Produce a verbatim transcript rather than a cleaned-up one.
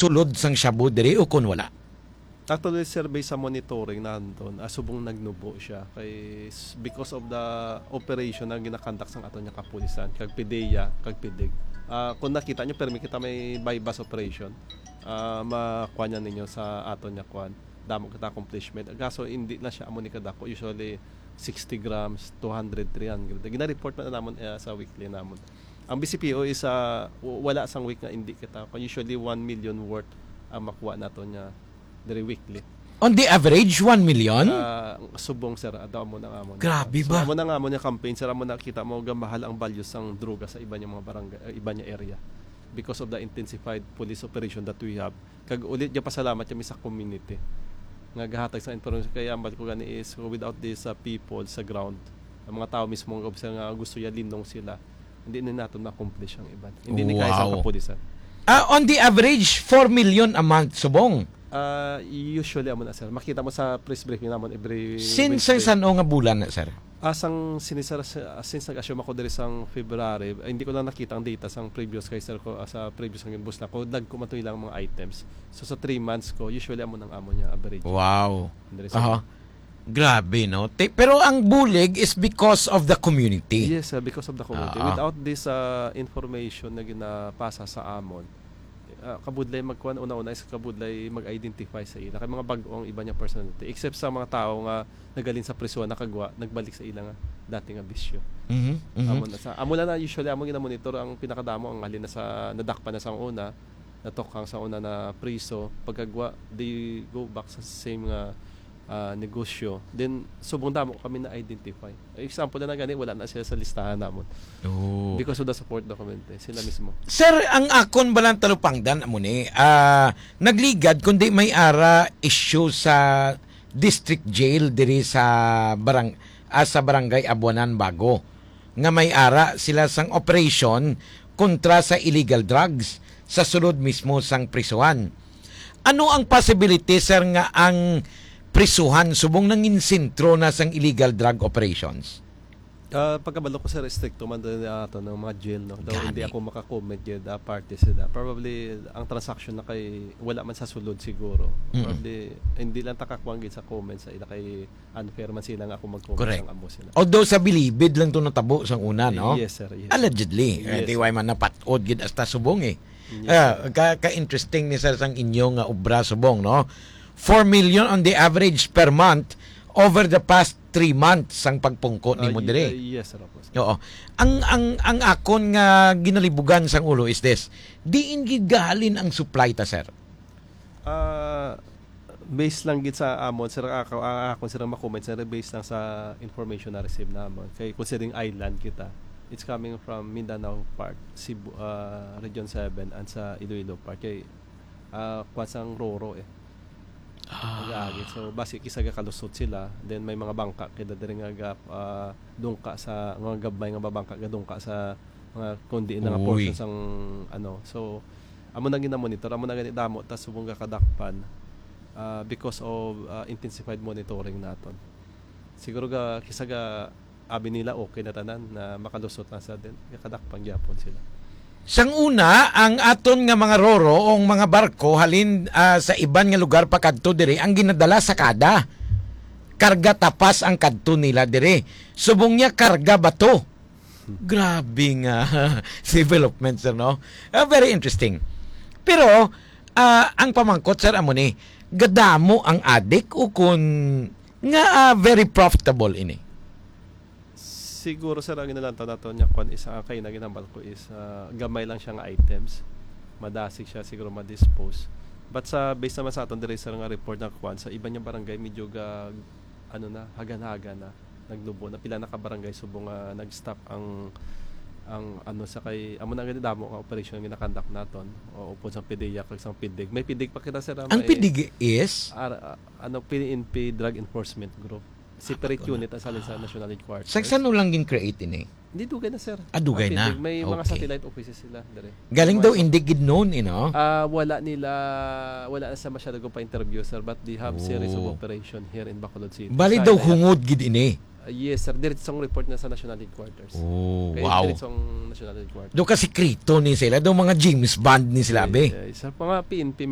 sulod sang shabu diri o kon wala? Actually, sir, based sa monitoring naton, ah, subong nagnubo siya. Kay s-, because of the operation na ginakandak sang aton nga kapulisan, kag PDEA, kag PDEG. Ah, kung nakita nyo, permi kita may buy-bust operation. Ah, makuha niya ninyo sa aton nga kuan. Damo kita accomplishment. Kaso, hindi na siya amo ni kadako. Usually, sixty grams, two hundred, three hundred. Gina-report na namon, eh, sa weekly namon. Ang BCPO is, ah, w-, wala sang week nga hindi kita. Kung usually, one million worth ang makuha naton nga diri weekly. On the average, one million? Ah, subong, sir, ato amo na nga amo na. Grabe So, ba? amo na nga amo na campaign, sir, amo na kita mo gamahal ang value sang droga sa iban nga mga barangay, eh, iban nga area because of the intensified police operation that we have. Kag ulit, pasalamat kami sa community nga gahatag sa information. Kaya ang balik ko gani is, without these, uh, people sa ground, ang mga tao mismo nga observe nga gusto ya linong sila, hindi na naton ma-accomplish ang iban. Hindi ni kaya sa Wow. kapulisan. Ah, on the average, four million a month, subong? Ah, usually, amo na, sir. Makita mo sa press briefing namon every Since Wednesday. San-o nga bulan na, sir? Ah, sang sini, sir, sa-, since nag-assume ako diri sang February, ah, hindi ko lang nakita ang data sang previous kay sir ko, ah, sa previous nga ginbus na ko, dagko man to ilang mga items. So, sa three months ko, usually amo nang amo niya average. Wow. Diri sa Aha. Grabe, no? Te-, pero ang bulig is because of the community. Yes, sir, because of the community. Ah. Without this, ah, information na ginapasa sa amon, ah, kabudlay magkuan, una-una is kabudlay mag-identify sa ila. Kay mga bag-o ang iban nga personality. Except sa mga tao nga nagaling sa prisuhan, nakagwa, nagbalik sa ila nga dati nga bisyo. Mhm, mhm. Amo na sa, amo lang na usually amo ginamonitor ang pinakadamo ang halin na sa nadakpan na sa una, natokhang sa una na priso, pagkagwa, they go back sa same nga, ah, negosyo. Then, subong damo kami na-identify. Example na gani, wala na siya sa listahan namon. Oh. Because of the support document, eh, sila mismo. Sir, ang akon balang talupangdan amo ni, ah, nagligad kundi may ara issue sa district jail diri sa barang-, ah, sa barangay Abuanan Bago, nga may ara sila sang operation kontra sa illegal drugs sa sulod mismo sang prisuhan. Ano ang possibility, sir, nga ang prisuhan subong nangin sentro na sang illegal drug operations? Ah, pagkabalo ko, sir, estrikto man din ato ng mga jail, no? Though hindi Gani. ako maka-comment yun, ah, parte sila. Probably, ang transaction na kay wala man sa sulod siguro. Mm. Probably, hindi lang takakwang gid sa comment sa ila kay unfair man sila nga ako mag-comment Correct. sang amo sila. Although sa bilibid lang to natabo sang una, no? Yes, sir. Yes. Allegedly. Eh, Yes, di sir. way man napat-od gid hasta subong, eh. Yes, Ah, sir. ka, ka-interesting ni sir sang inyo nga obra subong, no? Four million on the average per month over the past three months sang pagpungko Ah, nimo y-, dire. ah, yes, sir, of course. Oo. Ang, ang, ang akon nga ginalibugan sang ulo is this. Diin gid gahalin ang supply ta, sir? Ah, based lang gid sa amon, sir, ako, ang akon, sir, ang makomment, sir, based lang sa information na receive namon. Kay considering island kita, it's coming from Mindanao part, Cebu, ah, Region seven, and sa Iloilo part. Kay, ah, kwan sang Roro, eh. Ah. Nag-aagi. So, basi kisa gakalusot sila. Then, may mga bangka, kaya diri nga gap, ah, dungka sa, mga gabmay nga babangka, gadungka sa mga kundi na nga Uy. portion sang, ano. So, amo na ginamonitor, amo na gani damo, tas subong ga kadakpan, ah, because of, ah, intensified monitoring naton. Siguro ga, kisa ga, abi nila, okay na tanan, na makalusot na sa din, ga kadakpan gyapon sila. Sang una, ang aton nga mga roro o mga barko halin, ah, sa iban nga lugar pakadto diri ang ginadala sa kada. Karga tapas ang kadto nila diri. Subong niya karga bato. Grabe nga development, sir, no? Ah, very interesting. Pero, ah, ang pamangkot, sir, amo ni, gadamo ang adik o kun nga, ah, very profitable ini? Siguro, sir, ang inalantaw nato niya kwan is, ah, kay na ginambal ko is, ah, gamay lang siya nga items. Madasig siya siguro ma-dispose. But sa, based naman sa aton diri, sir, nga report na kwan, sa iban nga barangay, medyo ga, ano na, hagan-hagan na, nagnubo na. Pila na ka barangay subong nga nag-stop ang, ang ano sa kay, amo na gani damo nga operasyon nga ginakandak naton. O, upod sang PDEA kag sang PDEG. May PDEG pa kita, sir, ah, Ang may PDEG is? Ar-, ah, ano, PNP Drug Enforcement Group. Separate Ah, unit ang salin sa ah. National Headquarters. Sa saan lang gin-create ini? Hindi, dugay na, sir. Ah, dugay Ang na. PDEG, may mga Okay. satellite offices sila, dire. Galing May daw mga hindi gid noon, eh, no? Ah, wala nila, wala na sa masyado ko pa-interview, sir, but they have series of Oh. operation here in Bacolod City. Bali Sa daw ila- hungod gid ini. Ah, yes, sir. Diretsong report na sa National Headquarters. Oh, Kaya wow. diretsong National Headquarters. Do ka sikreto ni sila, do mga James Bond ni sila, Yes, be. yes, sir. Mga PNP